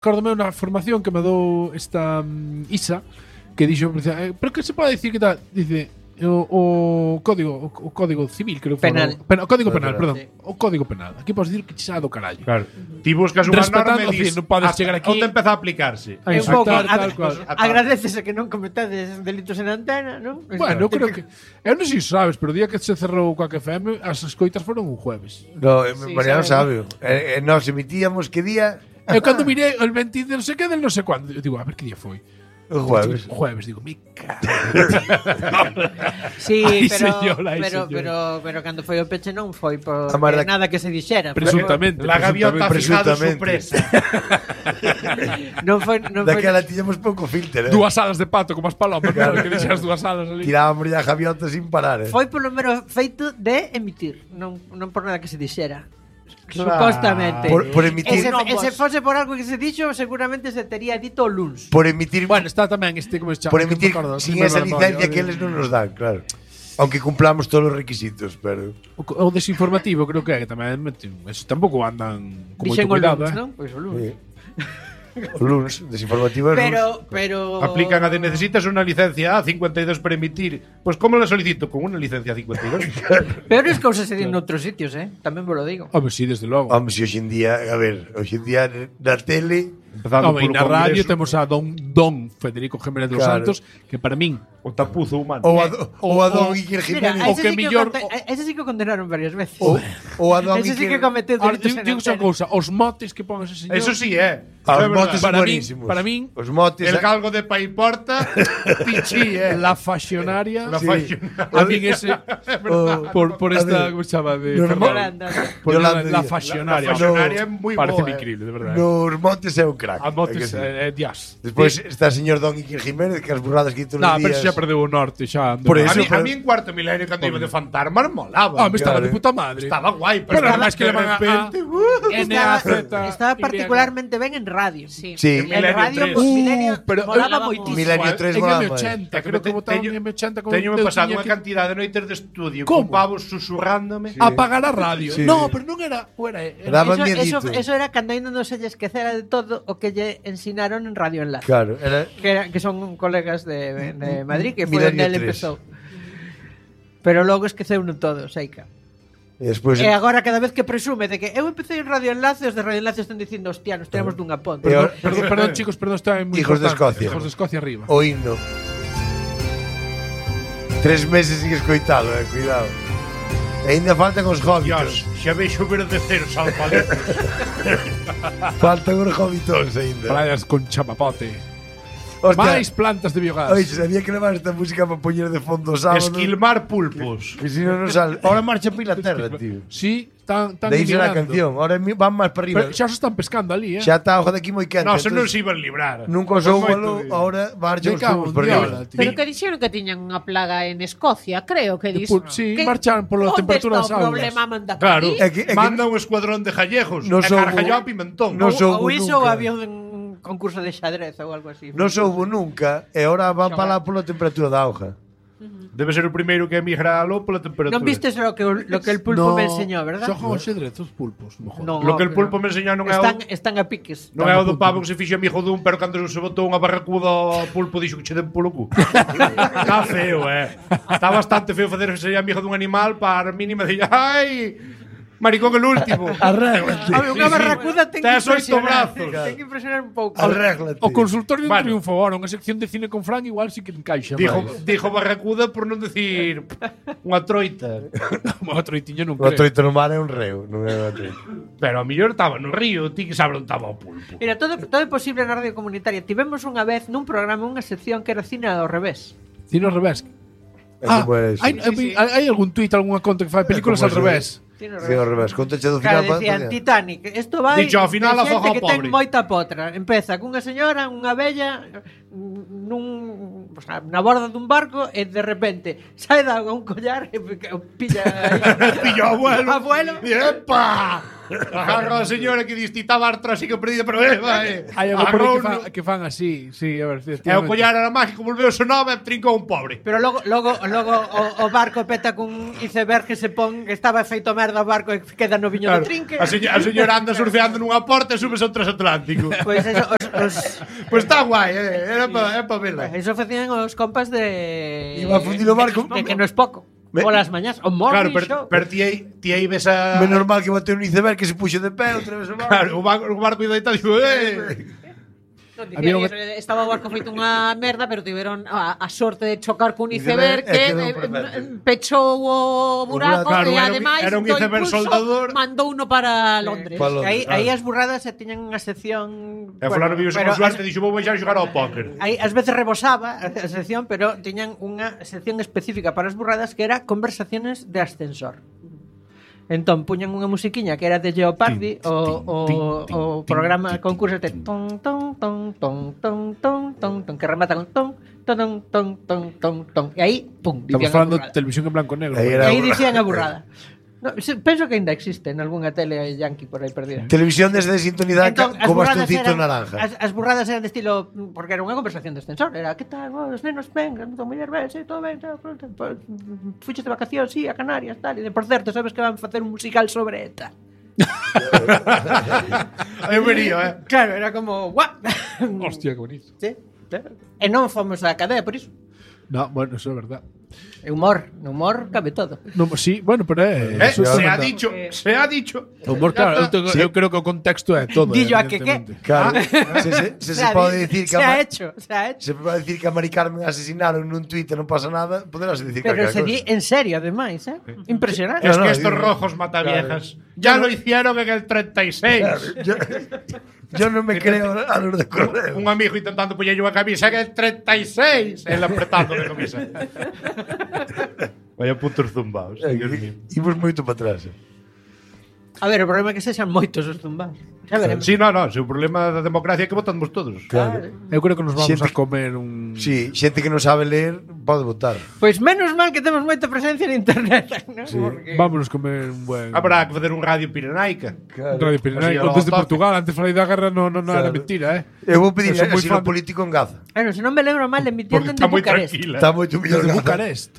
Acórdome unha formación que me dou esta Isa, que dixo, pero que se pode dicir que tal? Dice, o código civil, creo que penal. O código penal, perdón. Sí. O código penal. Aquí podes dicir que xa do carallo. Claro. Ti buscas unha Respetando, norma e dis, non podes chegar aquí onde empeza a aplicarse. a É un pouco insultar, tal cual. agradecese que non cometades delitos en antena, non? Bueno, eu creo que eu non sei se sabes, pero o día que se cerrou Coac FM, as escoitas foron un jueves. No, Sí, Mariano sabe. sabe. Nos emitíamos que día? Eu cando mirei el 20 de non sei que del non sei cuándo, eu digo, a ver que día foi. O jueves. Jueves, digo, me cago. Sí, Ai, pero, señora, ai, pero, señora. pero cando foi o peche non foi por A Marda- nada que se dixera. Presuntamente. La gaviota ha fijado su Presuntamente. presa. Non foi Daquela tiñamos pouco filter, Dúas alas de pato como as palomas, claro, que dixas dúas alas ali. Tirábamos ya gaviota sin parar, foi polo mero feito de emitir, non por nada que se dixera. Claro. Supostamente. Por emitir, E se fose por algo que se dixo, seguramente se tería dito o luns. por emitir, Bueno, está tamén como se chama. por que emitir me acordo, sin non me esa acordo a licencia memoria, que eles non nos dan, claro. Aunque cumplamos todos os requisitos, pero O desinformativo creo que tamén eso tampouco andan con Dixen moito o cuidado, luns, non? Pois o luns. o lunes, desinformativo é lunes. Pero Aplican a de necesitas unha licencia A52 para emitir. Pues como la solicito? Con unha licencia A52. peores cousas se din noutros sitios, tamén vos lo digo. Home, sí, desde logo. Vamos, si hoxe en día, a ver, hoxe en día na tele, Empezando Home, e polo na radio Congreso, temos a Don Federico Jiménez dos Claro. Santos, que para min o tapuzo humano. ou a Don Iker Mira, Jiménez, o que mellor- ese sí que o condenaron varias veces. ou a Don Ese sí que Iker, cometeu Ahora, delitos en digo xa antena. cousa, os motes que pon ese señor. Eso sí, é. os Eso é motes verdad. Para min- buenísimos. para min, os motes, El galgo de Paiporta, Pichi, La Faxionaria. La Sí. Faxionaria. A min ese por a esta, ver, como se chama de Yolanda. Por Yolanda la Díaz. Faxionaria. La Faxionaria é moi Parece boa, increíble, de verdade. nos motes é un crack. A motes é que sí. dias. Despois está o señor Don Iker Jiménez, que as burradas que todos No, os pero días. xa perdeu o norte, xa andou. Por A eso, mí, pero- a mí en cuarto milenio cando iba de fantasmas molaba. Me estaba Claro. de puta madre. Estaba guai, Pero estaba- además que le van a repente, Estaba particularmente ben en radio. Sí. Sí. En Milenio radio, 3. pues, Milenio, pero- molaba Molaba moitísimo. Milenio 3 En molaba. M80, É que creo que votaban teño- en M80 con Teño me eu pasado tiña unha que cantidad de noites de estudio Como? con pavos susurrándome. apagar a radio. Sí. No, pero non era, Daba Eso, miedito. eso era cando ainda non se lle esquecera de todo o que lle ensinaron en Radio Enlace. Claro, era Que son colegas de Madrid, que foi Milenio onde ele 3. empezou. Pero logo esqueceu no todo, Seica. e despois E agora cada vez que presume de que eu empecé en Radio Enlace, os de Radio Enlace están dicindo, hostia, nos tiramos dunha ponte. E ahora- Perdón, chicos, perdón, está moi Hijos de importante. Escocia. Hijos de Escocia arriba. o himno. 3 meses sin escoitalo, cuidado. E ainda faltan os Dios, hobbitos. xa veixo verdaderos alfaletos. Faltan os hobbitos ainda. Playas con chapapote. Hostia, Máis plantas de biogás. oye, sabía que levar esta música para poñer de fondo o sábado. Esquilmar pulpos. Que si non nos sale. Ahora marcha para Inglaterra, tío. Sí, tan De aí será a emigrando. canción. Ahora van máis para arriba. Pero xa se están pescando ali, Xa está a hoja de aquí moi quente. No, se non entonces se iban librar. Nunca usou o Moito balón, de- ahora marcha Me os cago tubos en por Dios, arriba. tío. Pero que dixeron que tiñan unha plaga en Escocia, creo que dis. Sí, marchan pola temperatura das Onde está o aulas. problema manda por Claro, aquí? manda un escuadrón de jallejos No e soubo- cargalló a pimentón. no Ou soubo iso ou nunca. había un concurso de xadrez ou algo así. Non soubo nunca e ahora van para lá pola temperatura da hoja. Debe ser o primeiro que emigra aló pola temperatura. Non vistes lo que el pulpo me enseñó, verdad? Xogan ao xedrez os pulpos, mejor. No, Lo que el pero pulpo me enseñou non é están a piques. Non é o do pavo que se fixo amigo dun, pero cando se botou unha barracuda ao pulpo dixo que che den polo cu. Está feo, Está bastante feo facer ser amigo dun animal para a mínima de ai, maricón el último. Arréglate. A ver, unha barracuda ten que Tes oito impresionar. brazos. Ten que impresionar un pouco. Arréglate. O consultorio de un Bueno. triunfo ahora, unha sección de cine con Fran igual sí que encaixa. Dijo barracuda por non decir unha troita. O troitiño non O creo. troito no mar é un reo, non é unha troito. Pero a mellor estaba no río, ti que sabe onde estaba o pulpo. Mira, todo é posible na radio comunitaria. Tivemos unha vez nun programa unha sección que era cine ao revés. Cine ao revés. É como é eso. Hai algún tuit, algunha conta que fai películas como al eso, revés. Cine ao Sí, ao revés. Contache do Claro, final. decían Titanic. Isto vai Dicho, ao final de a xente foja que pobre. ten moita potra. Empeza cunha señora, unha vella nun, o sea, na borda dun barco e de repente sae da auga un collar e pilla aí. Pillo abuelo. Abuelo. ¡Epa! Agarra a señora que dis ti estaba artrósica perdida, pero vai. Hai algo por aí que fan así, sí, a ver, E o collar era mágico, volveu so nova e trincou un pobre. Pero logo o barco peta cun iceberg que se pon que estaba feito merda o barco e queda no viño do trinque. A señora anda surfeando nunha porta e subes ao transatlántico. Pois eso, Pois está guai, era pa vela. eso facían os compas de Iba a fundir o barco. que non es pouco. Polas mañás, o morning Claro, show. pero ti aí ves a... Menos mal que bateu un iceberg que se puxo de pé outra vez o barco. Claro, o barco iba deitado e dixo, Había un- Estaba o barco feito unha merda, pero tiveron a sorte de chocar cun Iceberg, iceberg que quedou perfecto. pechou o buraco Claro, e era un- ademais era un do iceberg impulso soldador. mandou uno para Londres. Para Londres. Aí as burradas se tiñan unha sección. E fulano vive pero con suerte e dixo, vou baixar a xogar ao póker. Aí ás veces rebosaba a sección, pero tiñan unha sección específica para as burradas que era conversaciones de ascensor. Entón puñan unha musiquiña que era de Jeopardy, o programa concurso de ton ton ton ton ton ton ton ton que remata con ton ton ton ton ton ton e aí pum, Estamos dicían a falando de burrada. televisión en blanco e negro. Aí E era aí burrada. dicían a burrada. No, penso que ainda existe en algunha tele yankee por aí perdida. Televisión desde sintonizada Entón, co bastoncito naranja. As burradas eran de estilo porque era unha conversación de ascensor, era que tal, os nenos vengan, tu muller ven, sí, todo ben, fuches de vacacións, sí, a Canarias, tal, e de por certo, sabes que van facer un musical sobre ETA. Eu vería, Claro, era como, guau. Hostia, que bonito. Sí, claro. E non fomos á cadea por iso. No, bueno, eso é verdad. E humor, no humor cabe todo. No, sí, bueno, pero eso Se ha verdad. dicho, se ha dicho. O humor, claro, eu creo que o contexto é todo. Guillo, a que evidentemente. Claro, se pode dicir que se ha hecho. se pode dicir que a Mari Carmen asesinaron nun tuit e non pasa nada, poderás dicir Pero calquera se di cosa. en serio, ademais, Impresionante. Es No, que no, estos digo- rojos mataviejas ya lo hicieron en el 36. Yo non me creo a los de correo. Un amigo intentando poñerlle unha camisa en el 36. Él apretando de camisa. Vaya putos zumbaos. Dios mío. Imos moito para atrás. A ver, o problema é que sexan moitos os zumbados. Xa veremos. Sí, no, o problema da democracia é que votamos todos. Claro. Eu creo que nos vamos Xente- a comer un... Sí, xente que non sabe ler pode votar. Pois menos mal que temos moita presencia en internet, ¿no? Porque... Vámonos comer un buen... Habrá que facer un radio pirenaica. Radio Pirenaico. Así, Desde ao toque. Portugal, antes falei da guerra, no era Claro. mentira, Eu vou pedir Eu son moi asilo fan- político en Gaza. Bueno, se non me lembro mal, Porque emitiendo está en moi Bucarest. tranquila. Está moito mellor Desde Gaza. Bucarest.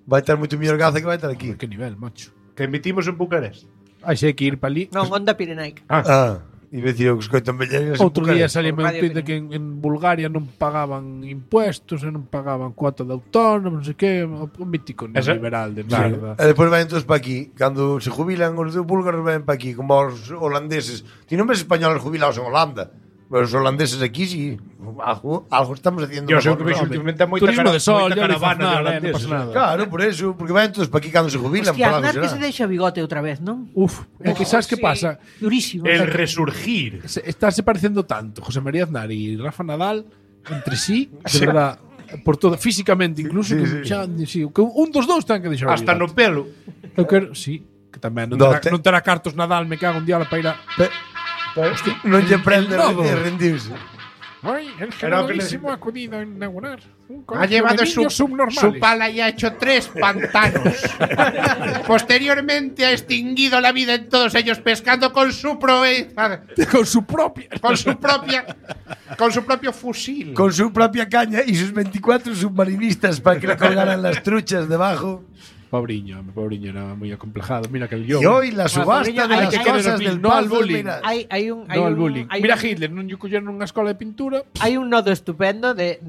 Vai estar moito mellor Gaza que vai estar aquí. Que nivel, macho. Que emitimos en Bucarest. Ai, sei que ir para ali. Non, Onda Pirenaica. Ah, iba a decir eu que escoito en Belleras. Outro día salí un Radio tuit de que en Bulgaria non pagaban impuestos e non pagaban cuota de autónomos, non sei que, un mítico neoliberal de merda. E depois van todos para aquí. Cando se jubilan os de búlgaros ven para aquí, como os holandeses. Ti non ves españoles jubilados en Holanda. Pero os holandeses aquí sí. Algo estamos haciendo. Yo sei mejor, que vexo ¿no? últimamente moita Turismo de sol, moita ya caravana de non holandeses. pasa nada. Claro, por eso. Porque van todos para aquí cando se jubilan. Hostia, por algo Aznar que será. se deixa o bigote outra vez, non? Uf, é que sabes que pasa? Durísimo. El resurgir. Estáse parecendo tanto José María Aznar e Rafa Nadal entre sí, de verdad, por todo, físicamente incluso, Sí, que sí. xa, sí, que un dos dous ten que deixar o Hasta no bigote. pelo. Eu quero, sí, que tamén non No, terá, non terá cartos Nadal, me cago un día para ir a... Non lle prende el nodo. a rendirse. Ay, el Era o que generalísimo ha acudido a inaugurar un Ha colegio llevado de su niños subnormales. pala y ha hecho 3 pantanos. Posteriormente ha extinguido la vida en todos ellos pescando con su proeza, Con su propia... con su propio fusil. Con su propia caña y sus 24 submarinistas para que le colgaran las truchas debajo. Pobriño, era muy acomplejado. Mira que el guión. Y hoy la subasta Pobriño, de hay las que cosas querer del no al Paz bullying. Miral. Hai un No al bullying. hai Mira un- Hitler, non lle colleron nunha escola de pintura. Hai un nodo estupendo de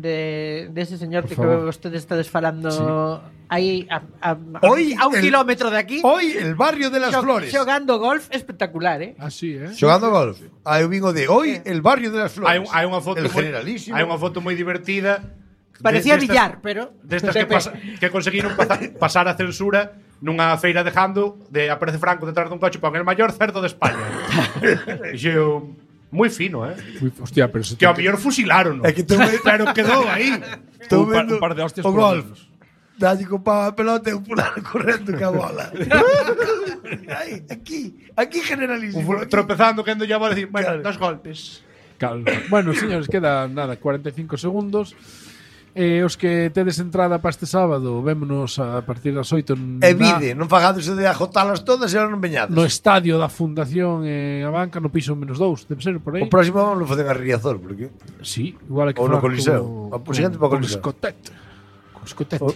ese señor que favor. ustedes estades falando aí Hoy a un el- kilómetro de aquí. Hoy el barrio de las flores. Xogando golf espectacular, Así, Xogando golf. Aí vingo de hoy el barrio de las flores. Hai unha foto el moi- generalísimo. hai unha foto moi divertida. Parecía destas- billar, pero Destas que conseguiron pasar a censura nunha feira de Jando de aparece Franco detrás dun coche pon el maior cerdo de España. E xeo moi fino, Hostia, pero se Que ao mellor fusilaron, É que pero quedou aí. Estou un vendo par de hostias o por lo golf. menos. Dalle con pau a pelota e un pular correndo ca bola. Aí, aquí generalísimo. aquí. Tropezando que ando ya a decir, bueno, Claro. 2 golpes. Calma. Bueno, señores, queda nada, 45 segundos. Os que tedes entrada para este sábado, vémonos a partir das 8 E vide, non fagades de agotalas todas e non veñades. no estadio da Fundación a banca no piso -2, debe ser por aí. O próximo vamos a facer a Riazor, porque Sí, igual hai que ou no falar Coliseo. O seguinte para o Coliseo. Escotete.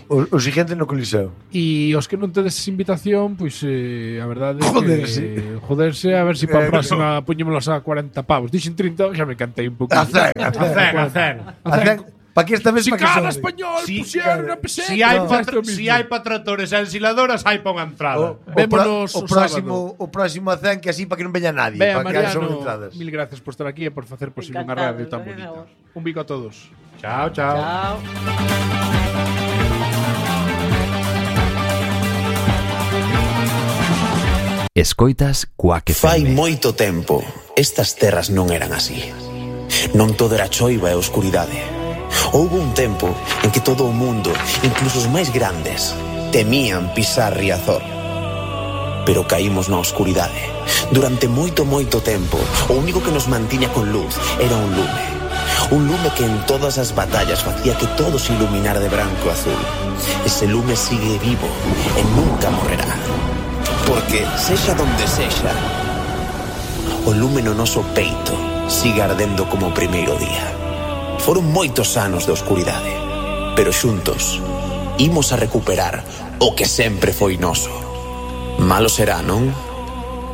o siguiente no Coliseo. E os que non tedes invitación, pois a verdade é que joderse a ver se para a próxima puñémolos a 40 pavos. Dixen 30, xa me cantei un pouco. A 100. Para que esta vez Si para que cada sobre. español pusieron a peseta. Si hai para tractores e ensiladoras, hai para unha entrada. Vémonos o o próximo a 100 que así para que non veña nadie, Vea, para que haya sobre Mariano, entradas. mil gracias por estar aquí e por facer posible unha Encantado, radio tan venga, bonita. vos. Un bico a todos. Chao, chao. Chao. Escoitas Quack Fai FM. moito tempo, estas terras non eran así. Non todo era choiva e oscuridade. Houbo un tempo en que todo o mundo, incluso os máis grandes, temían pisar Riazor. Pero caímos na oscuridade. Durante moito tempo, o único que nos mantiña con luz era un lume. Un lume que en todas as batallas facía que todo se iluminara de branco e azul. Ese lume sigue vivo e nunca morrerá. Porque, sexa donde sexa, o lume no noso peito sigue ardendo como o primeiro día. Foron moitos anos de oscuridade, pero xuntos imos a recuperar o que sempre foi noso. Malo será, non?